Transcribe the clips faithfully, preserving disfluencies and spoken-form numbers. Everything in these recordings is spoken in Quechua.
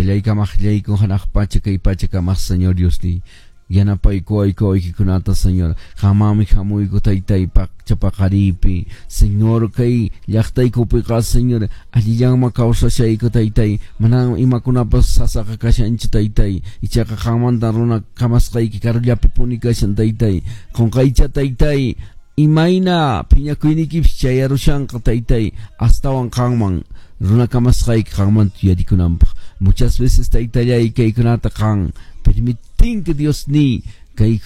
Taytallay kamaqllayku hanaq pacha kay pacha kamaq Señor Diosniy. Yanapaykuwayku wawaykikunata Señor. Qamami hamuyku taytay paqaripi. Señor kay llaqtaykupiqa Señor allillanman kawsashayku taytay. Manan imakunapas sasaqa kashanchu taytay. Ichaqa qanmanta runa kamasqayki karullapi puni kashan taytay. Qunqaycha taytay. Imayna phiñakuyniykipis chayarushanqa taytay astawan qanman runa kamasqayki qanmanta yuyarikunanpaq. Muchas veces taytallay kaykunata qan permitinki Diosniy kay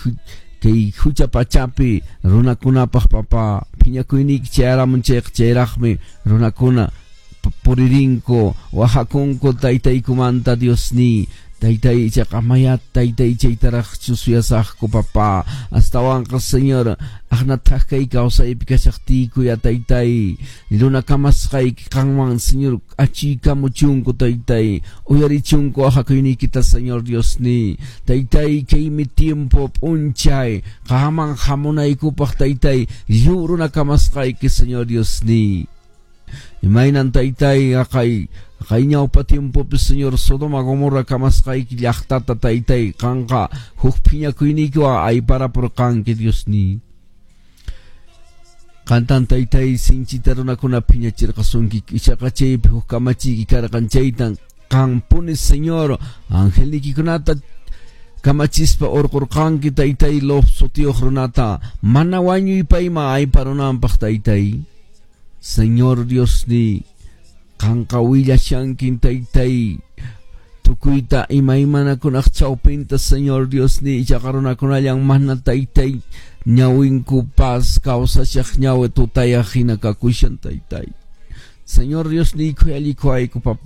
kay hucha pachapi runakunapaq papa phiñakuyniyki chayaramun chayqa chayraqmi runakuna puririnku wahakunku taytaykumanta Diosniy. Taytay ichaqa maya taytay chaytaraqchu suyasaqku papa astawanqa Señor aqnataq kay kawsaypi kashaqtiyku ya taytay runa kamasqayki qanman Señor achiykamuchunku taytay uyarichunku wahakuyniykita Señor Diosniy taytay kaymi tiempo p'unchay qanman hamunaykupaq taytay lliw runa kamasqayki Señor Diosniy. Imaynan taytay aqay kay ñawpa tiempopi Señor Sodoma Gomorra kamasqayki llaqtata taytay qanqa huk phiñakuyniykiwan ayparapurqanki Diosniy. Qantan taytay sinchita runakuna phiñachirqasunki ichaqa chaypi huk kamachiyki karqan chaytan qanpuni Señor angelniykikunata kamachispa urqurqanki taytay Lot sutiyuq runata mana wañuy payman ayparunanpaq taytay. Señor Diosniy qanqa willashankin taytay tukuyta imaymanakunaq chawpinta Señor Diosniy ichaqa runakunallan mana taytay ñawinkupas kawsashaq ñawi tutayaq hina kakushan taytay. Señor Diosniy khuyallikuwayku papá.